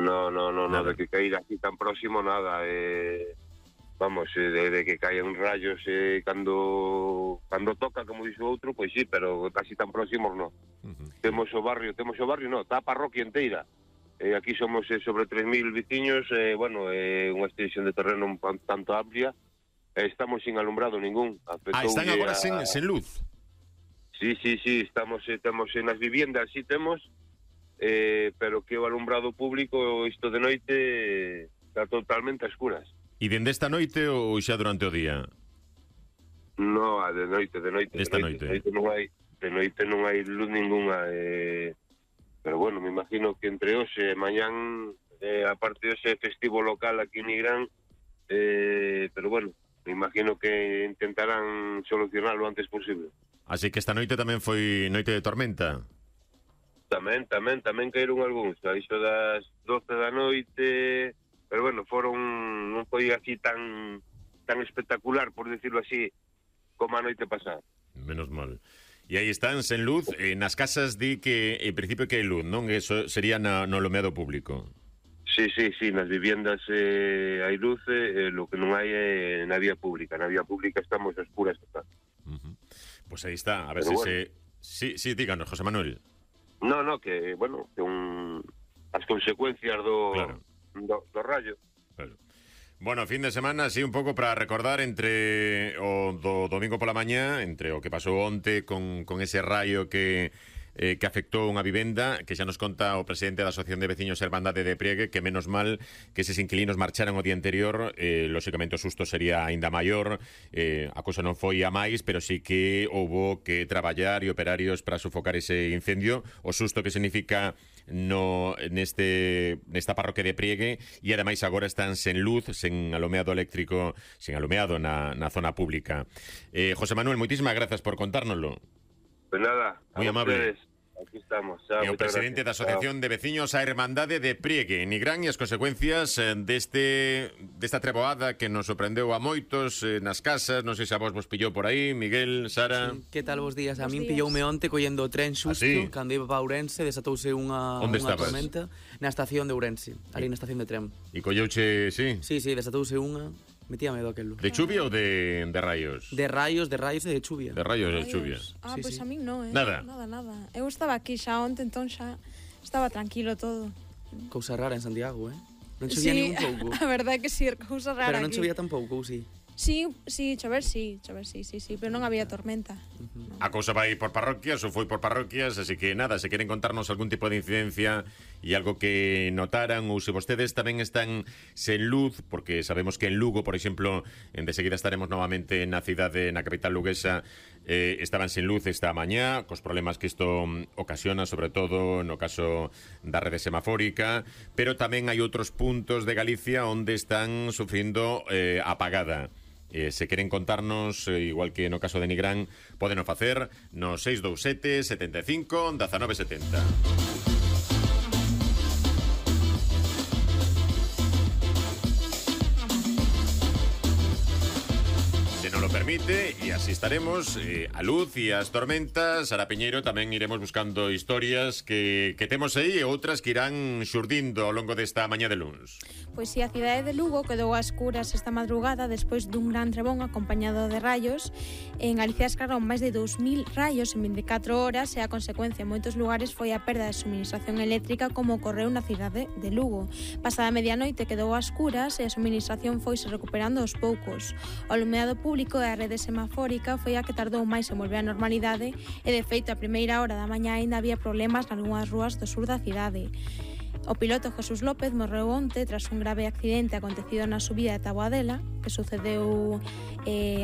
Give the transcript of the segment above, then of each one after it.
No, de que caíra aquí tan próximo nada. Vamos, de que caen rayos cando toca, como dixo outro, pois sí, pero casi tan próximos no. Temos o barrio, no, está a parroquia inteira. Aquí somos sobre 3.000 veciños, unha extensión de terreno un tanto amplia. Estamos sin alumbrado ningún. Están agora sen luz. Sí, temos nas viviendas, sí temos, pero que o alumbrado público isto de noite está totalmente a escuras. E dende esta noite ou xa durante o día? No, de noite. Esta noite. De noite non hai luz ninguna. Pero bueno, me imagino que entre hoxe e mañán, aparte de ese festivo local aquí en Nigrán, pero bueno, me imagino que intentarán solucionarlo lo antes posible. Así que esta noite tamén foi noite de tormenta? Tamén caeron algúns, a iso das 12 da noite, pero bueno, non foi así tan espectacular, por decirlo así, como a noite pasada. Menos mal. E aí están sen luz, nas casas di que en principio que hai luz, non? Eso sería no alumeado público. Sí, nas viviendas hai luz, lo que non hai é na vía pública. Na vía pública estamos a escuras total. Pues aí está, a ver pero si bueno. Sí, díganos, José Manuel. No, que, bueno, que as consecuencias do rayo. Claro. Bueno, fin de semana, así un pouco para recordar entre o do domingo pola mañá, entre o que pasou onte con ese rayo que afectou unha vivenda, que xa nos conta o presidente da Asociación de Veciños Hermandade de Priegue, que menos mal que eses inquilinos marcharan o día anterior, lóxicamente o susto sería aínda maior, a cousa non foi a máis, pero sí que houbo que traballar e operarios para sofocar ese incendio, o susto que significa nesta parroquia de Priegue, e ademais agora están sen luz, sen alumeado eléctrico, sen alumeado na zona pública. José Manuel, moitísimas grazas por contárnoslo. Pues nada, moi amable. Aquí estamos. E o presidente da Asociación de Veciños a Hermandade de Priegue, Nigrán, e as consecuencias desta treboada que nos sorprendeu a moitos nas casas. Non sei se a vos pillou por aí, Miguel, Sara. Sí. Que tal vos días? A min pilloume onte collendo o tren xusto, cando iba para Ourense, desatouse unha tormenta na estación de Ourense, ali na estación de tren. E colleuche, sí? Sí, desatouse unha. Metía medo aquelo. De chuvia ou de rayos? De rayos e de chuvia. De rayos e de chuvia. Pois a min non, Nada. Nada. Eu estaba aquí xa onte, entón xa estaba tranquilo todo. Cousa rara en Santiago, Non chovía nin un pouco. A verdade é que sí, cousa rara. Pero non chovía tampouco, ou sí? Sí, chover sí, pero non había tormenta. A cousa vai por parroquias ou foi por parroquias, así que nada, se queren contarnos algún tipo de incidencia e algo que notaran, ou se vostedes tamén están sen luz, porque sabemos que en Lugo, por exemplo, de seguida estaremos novamente na cidade, na capital luguesa, estaban sen luz esta mañá, cos problemas que isto ocasiona, sobre todo no caso da rede semafórica, pero tamén hai outros puntos de Galicia onde están sufrindo apagada. Se queren contarnos, igual que no caso de Nigrán, poden o facer no 627 75 1970. Permite, e así estaremos a luz e as tormentas. Sara Piñeiro, tamén iremos buscando historias que temos aí e outras que irán xurdindo ao longo desta mañá de luns. Pois si, a cidade de Lugo quedou a escuras esta madrugada despois dun gran trebón acompañado de rayos. En Galicia escarraron máis de 2.000 rayos en 24 horas e a consecuencia en moitos lugares foi a perda de suministración eléctrica, como ocorreu na cidade de Lugo. Pasada a medianoite quedou a escuras e a suministración foise recuperando aos poucos. O alumeado público e a rede semafórica foi a que tardou máis en volver á normalidade e, de feito, a primeira hora da mañá aínda había problemas nalgunhas rúas do sur da cidade. O piloto Jesús López morreu onte tras un grave accidente acontecido na subida de Taboadela, que sucedeu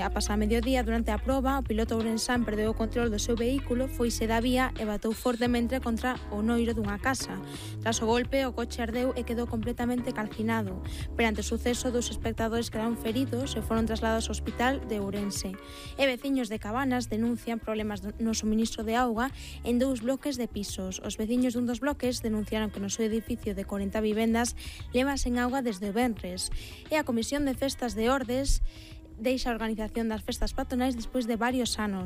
a pasar mediodía. Durante a proba, o piloto ourensán perdeu o control do seu vehículo, foise da vía e batou fortemente contra o noiro dunha casa. Tras o golpe, o coche ardeu e quedou completamente calcinado. Perante o suceso, dos espectadores quedaron feridos e foron trasladados ao hospital de Ourense. E veciños de Cabanas denuncian problemas no suministro de auga en 2 bloques de pisos. Os veciños dun dos bloques denunciaron que no seu edificio de 40 vivendas leva sen auga desde o venres. E a Comisión de Festas de Ordes deixa a organización das festas patronais despois de varios anos.